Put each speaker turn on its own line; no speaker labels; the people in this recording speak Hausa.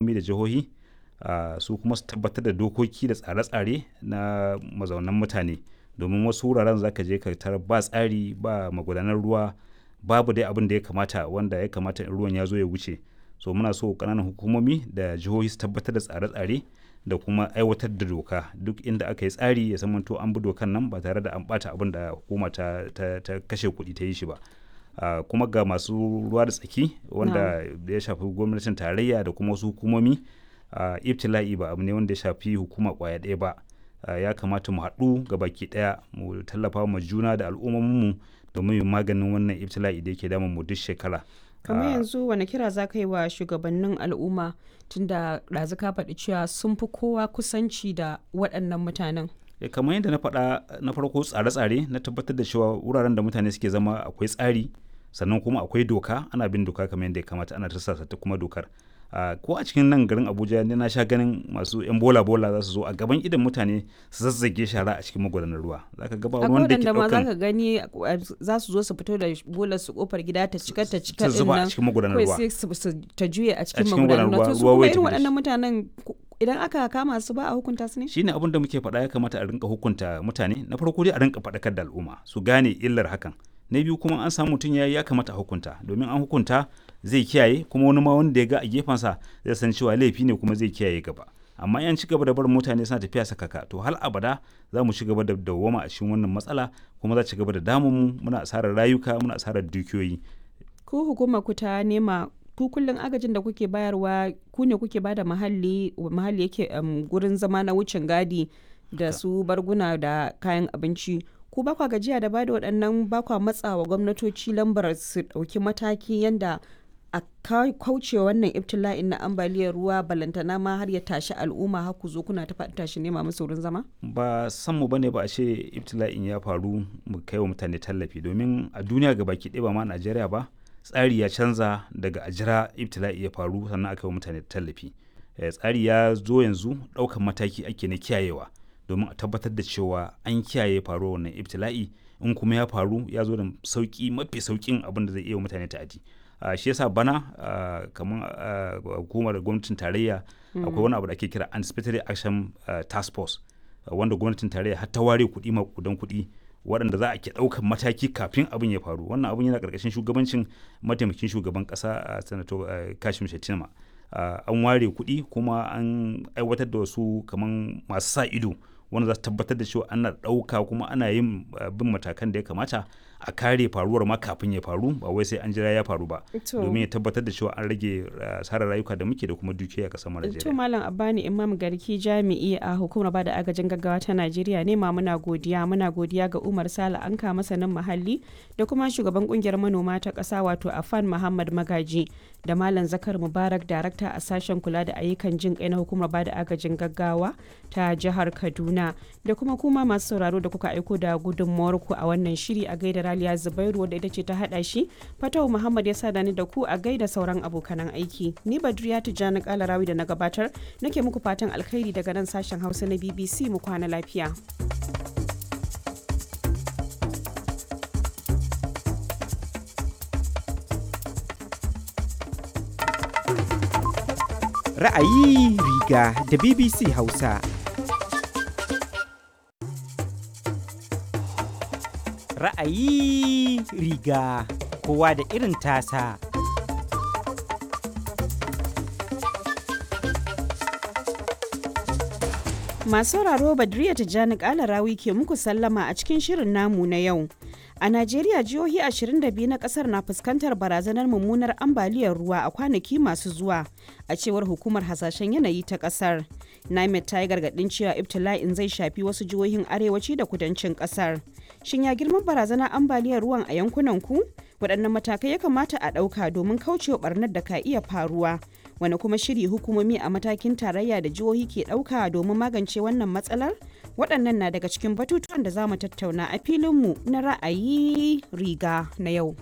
Da jihohi su kuma su tabbatar da dokoki da tsare-tsare na mazaunan mutane. Domin wasu wuraren za ka je ka tarar ba tsari, ba magudanar ruwa, babu dai abin da ya kamata wanda ya kamata in ruwan ya zo ya wuce. So muna so ƙananan hukumomi da jihohi su tabbatar da tsare-tsare da kuma aiwatar da doka. Duk inda aka yi tsari ya zamanto an bi dokan nan ba tare da an ɓata abin da hukuma ta kashe kuɗi ta yi shi ba. Kuma ga masu ruwa da tsaki wanda ya shafi gwamnatin tarayya da kuma wasu hukumomi, ibtila'i ba abu ne wanda ya shafi hukuma ƙwaya ɗaya ba. Ya kamata mu haɗu gabaki ɗaya mu tallafa ma juna da al'ummominmu domin mu maganin wannan ibtila'i da yake damun mu duk shekara.
Kamar yanzu wane kira za ka yi wa shugabannin al'umma tunda ɗazu ka faɗi cewa sun fi kowa kusanci da waɗannan mutanen?
Kamar yadda na faɗa na farko, tsare-tsare na tabbatar da cewa wuraren da mutane suke zama akwai tsari, sannan kuma akwai doka, ana bin doka kamar yadda ya kamata, ana tursasa ta kuma dokar. Ko a cikin nan garin Abuja ni na sha ganin masu 'yan bola bola za su zo a gaban idon mutane su zazzage shara a cikin magudanar ruwa. Za ka ga ba
Akwai
wanda yake
waɗanda ma za
ɗaukan
ka gani za su zo su fito da bolar su ƙofar gida ta cika ta cika
su
ɗin
zuba a
nan
cikin magudanar
kawai
ruwa.
sai su ta juye a
A
cikin
cikin
magudanar
magudanar
ruwa.
ruwa,
To su
ruwa
kuma
wai
irin
tafi da
waɗannan
shi.
mutanen idan aka kama su ba a hukunta su ne?
Shine abin da muke faɗa, ya kamata a rinka hukunta mutane. Na farko dai a rinka faɗakar da al'umma su gane illar hakan. Na biyu kuma an samu mutum ya yi, ya kamata a hukunta, domin an hukunta zai kiyaye, kuma wani ma wanda ya ga a gefensa zai san cewa laifi ne kuma zai kiyaye gaba. Amma in an ci gaba da barin mutane suna tafiya sakaka, to har abada za mu ci gaba da dawwama a cikin wannan matsala, kuma za ci gaba da damun mu, muna asarar rayuka, muna asarar dukiyoyi.
Ku hukumar ku ta nema ku kullum agajin da kuke bayarwa ku ne kuke bada muhalli, muhalli yake gurin zama na wucin gadi da su barguna da kayan abinci. Ku ba kwa gajiya da bada waɗannan, ba kwa matsawa gwamnatoci lambar su ɗauki mataki yanda a kauce wannan ibtila'in na ambaliyar ruwa, balantana ma har ya tashi al'umma har ku zo kuna ta faɗi tashi nema musu wurin zama?
Ba san mu bane ba a ce ibtila'in ya faru mu kai wa mutane tallafi, domin a duniya gabaki ɗaya, ba ma Najeriya ba, tsari ya canza daga a jira ibtila'i ya faru sannan aka yi wa mutane tallafi. Tsari ya zo yanzu ɗaukan mataki ake na kiyayewa domin a tabbatar da cewa an kiyaye faruwar wannan ibtila'i, in kuma ya faru ya zo da sauƙi, mafi sauƙin abin da zai iya wa mutane ta'adi. Shi yasa bana kamar hukumar gwamnatin tarayya akwai wani abu da ake kira Anticipatory Action Task Force, wanda gwamnatin tarayya har ta ware kuɗi, maƙudan kuɗi, waɗanda za a ke ɗaukan mataki kafin abin ya faru. Wannan abin yana ƙarƙashin shugabancin mataimakin shugaban ƙasa, Sanato Kashim Shettima. An ware kuɗi kuma an aiwatar da wasu kaman masu sa ido wanda za su tabbatar da cewa ana ɗauka kuma ana yin bin matakan da ya kamata a kare faruwar ma kafin ya faru, ba wai sai an jira ya faru ba. Domin ya tabbatar da cewa an rage asarar rayuka da muke da kuma dukiyoyi a ƙasar mu
To
Najeriya.
Malam Abbani Imam Garki, jami'i a hukumar bada agajin gaggawa ta Najeriya ne ma, muna godiya. Muna godiya ga Umar Sale Anka, masanin muhalli da kuma shugaban kungiyar manoma ta ƙasa wato Afan Muhammad Magaji, da Malam Zakar Mubarak, darakta a sashen kula da ayyukan jin kai na hukumar bada agajin gaggawa ta jihar Kaduna, da kuma masu sauraro da kuka aiko da gudunmawar ku a wannan shiri. A gaida Raliya Zubairu wadda ita ce ta hada shi, Fatau Muhammad ya sada ni da ku, a gaida sauran abokanan aiki. Ni Badriya Tijjani Kalarawi da na gabatar nake muku fatan alkhairi daga nan sashen Hausa na BBC. Mu kwana lafiya.
Ra'ayi riga da BBC Hausa. Ra'ayi riga kowa da irin tasa.
Masu sauraro, Badriya Tijjani Kalarawi ke muku sallama a cikin shirin namu na yau. A Najeriya, jihohi 22 na kasar na fuskantar barazanar mummunar ambaliyar ruwa a kwanaki masu zuwa, a cewar hukumar hasashen yanayi ta kasar. NIMET ta yi gargaɗin cewa ibtila'in zai shafi wasu jihohin arewaci da kudancin kasar. Shin ya girman barazanar ambaliyar ruwan a yankunan ku? Waɗannan matakai ya kamata a ɗauka domin kaucewa ɓarnar da ka iya faruwa? Wani kuma shiri hukumomi a matakin tarayya da jihohi ke ɗauka domin magance wannan matsalar? Waɗannan na daga cikin batutuwan da za mu tattauna a filinmu na ra'ayi riga na yau.